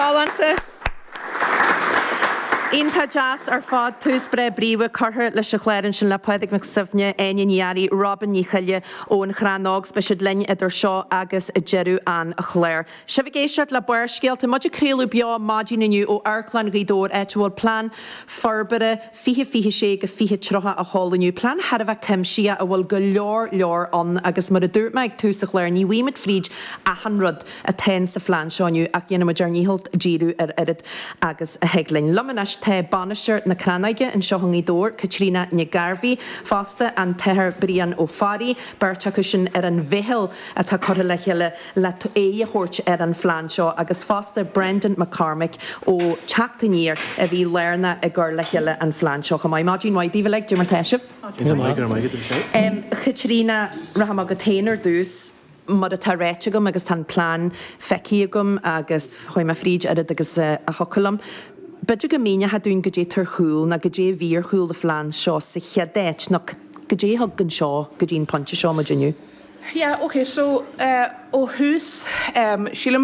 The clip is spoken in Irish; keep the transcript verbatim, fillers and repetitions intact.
Galánta. Iontach deas ar fad tús breá bríomhar curtha leis an chlár ansin le Pádraig Mac Suibhne, Áine Ní Fhearraigh, Robin Ní Choille ón Chrannóg beidh siad linn idir seo agus deireadh an chláir. Sibh ag éisteacht le Barrscéalta muid ag craoladh beo maidin inniu ó Amharclann Ghaoth Dobhair áit a bhfuil plean forbartha fiche fiche sé go fiche tríocha á sheoladh inniu. Plean thar a bheith cuimsitheach a bhfuil go leor leor ann agus mar a dúirt mé ag tús an chláir ní bhfaighimid fríd achan rud atá sa phlean seo inniu ach dhéanfaimid ár ndícheall díriú ar oiread agus a thig linn. Liom anois tá bainisteoir na Crannóige anseo i nGaoth Dobhair, Caitríona Nic Gairbhí, fosta an tAthair Brian Ó Fearraigh, beirt acu sin ar an mheitheal atá curtha le chéile le aghaidh a thabhairt ar an phlean seo agus fosta Brendan McCormick ó Teacht Aniar a bhí lárnach i gcur le chéile an phlean seo chomh maith. Maidin mhaith daoibh uilig, mar tá sibh. Caitríona rachaidh mé chugat féin ar dtús mar atá ráite agam agus tá an plean feicthe agam agus chuaigh mé fríd oiread agus a thiocfadh liom. B'fhéidir go míneochá dúinn goidé atá ar chúl nó goidé a bhí ar chúl an phlean seo sa chéad áit nó goidé a thug anseo go dtí an pointe seo muid inniu. Yeah, okay, so uh, ó thús um, sílim